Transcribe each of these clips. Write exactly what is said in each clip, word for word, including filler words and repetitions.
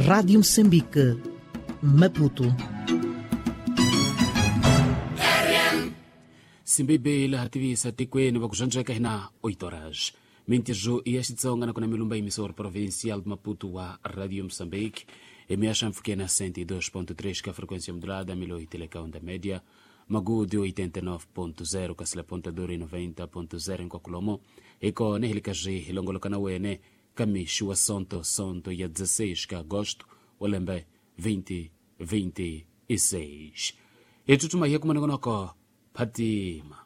Rádio Moçambique, Maputo. Simbibe laha tivisa tikweni va ku zvandzeka hina oito horas. Mintirho ya Xitsonga na kona milumba emissor provincial de Maputo wa Radio Moçambique. Emiaxa mfukena cento e dois ponto três ka frequência modulada, mil e oito ka onda média, Magude oitenta e nove ponto zero ka sila Ponta Dura e noventa ponto zero em Kwakulomo. Eko nehilikaji hilongoloka na wene kamixu wa sonto sonto ya dezesseis ka agosto wa lembe vinte vinte e seis. Etutuma hiya kumanongonoko Phatima.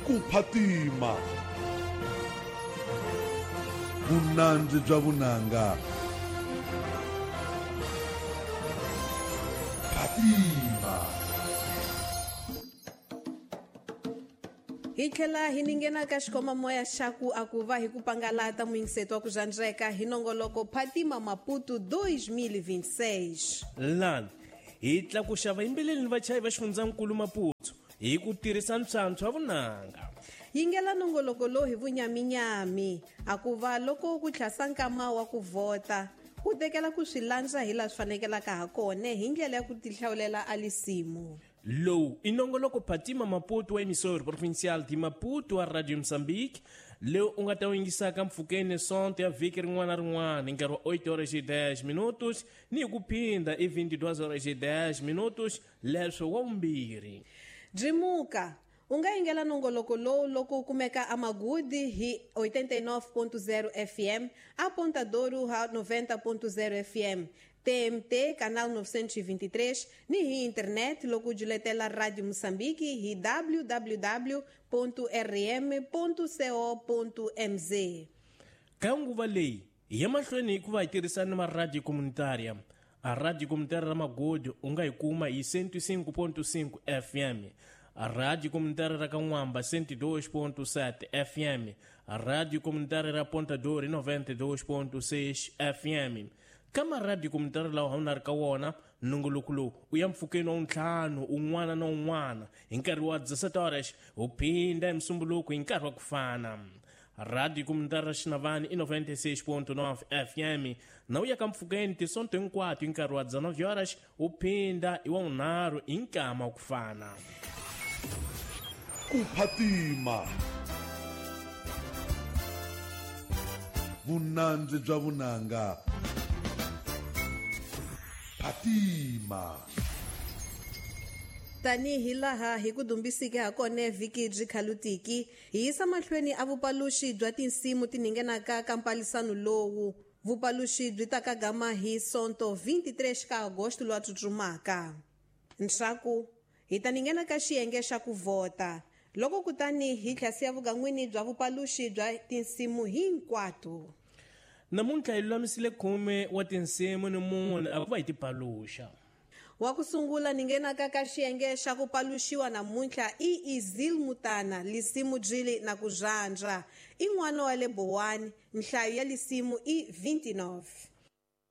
Ku Phatima. Vunandzi bya vunanga. Phatima. Hi tlhela hi ninghena ka xikomamoya xa ku a ku va hi ku pangalata muyingiseto wa ku zvandzeka hi nongoloko Phatima Maputo dois mil e vinte e seis. Lani hi tlakuxa vayimbeleli ni vachayi va xifundzankulu Maputo hi ku tirhisa ntswantswa wa vunanga. Yingela nongoloko lowu hi vunyaminyami a ku va loko ku tlhasa nkama wa ku vhota u tekela ku swi landza hi laha swi fanekelaka ha kona hi ndlela ya ku tihlawulela a lisimu. Lowu i nongoloko Phatima Maputo wa emissor provincial de Maputo wa Radio Moçambique lewu u nga ta wu yingisaka mpfhukeni sonto ya vhiki rin'wana na rin'wana hi nkarhi wa oito horas e dez minutos ni hi ku phinda i vinte e duas horas e dez minutos leswo wa vumbirhi. Byimuka u nga yingela nongoloko lowu loko u kumeka aMagudi hi oitenta e nove ponto zero F M, a Ponta Douro ha noventa ponto zero F M, T M T canal novecentos e vinte e três ni hi internet loko u juletela Radio Moçambique hi w w w ponto r m ponto co ponto m z. Ka nguva leyi hi ya mahlweni hi ku va hi tirhisana na maradio comunitaria. A radio comunitaria ra Magodi u nga yi kuma hi cento e cinco ponto cinco F M, a rádio comunitária ra Kan'wamba cento e dois ponto sete F M, a rádio comunitária ra Ponta Dora noventa e dois ponto seis F M. Kama rádio comunitária lawa u na ri ka wona nongoloko lowu u ya mpfhukeni wa ntlhanu un'wana na un'wana hi nkarhi wa dezessete horas u phinda hi musumbuluko hi nkarhi wa ku fana. Radio comunitária ra Xinavani i noventa e seis ponto nove F M na u ya ka mpfhukeni tisonto hinkwato hi nkarhi wa dezenove horas u phinda hi wa vunharhu hi nkama wa ku fana. Ku Phatima. Vunandzi bya vunanga. Phatima. Tanihi laha hi ku dumbisike ha kona vhiki byi khalutiki, hi yisa mahlweni a vupaluxi bya tinsimu ti ninghenaka ka mpalisano lowu. Vupaluxi byi ta ka gama hi sonto vinte e três ka agosto lowa tsutsumaka. Ntshaku hi ta ninghena ka xiyenge xa ku vhota. Loko kutani hi tlhasiya vugan'wini bya vupaluxi bya tinsimu hinkwato. Namuntlha hi lulamisile khume wa tinsimu ni mune a ku va hi ti paluxa. Wa ku sungula ninghenaka ka xiyenge xa ku paluxiwa namuntlha i Izil Mutana, lisimu byili na ku zhandza. I n'wana wa le Bowani, nhlayo ya lisimu i vinte e nove.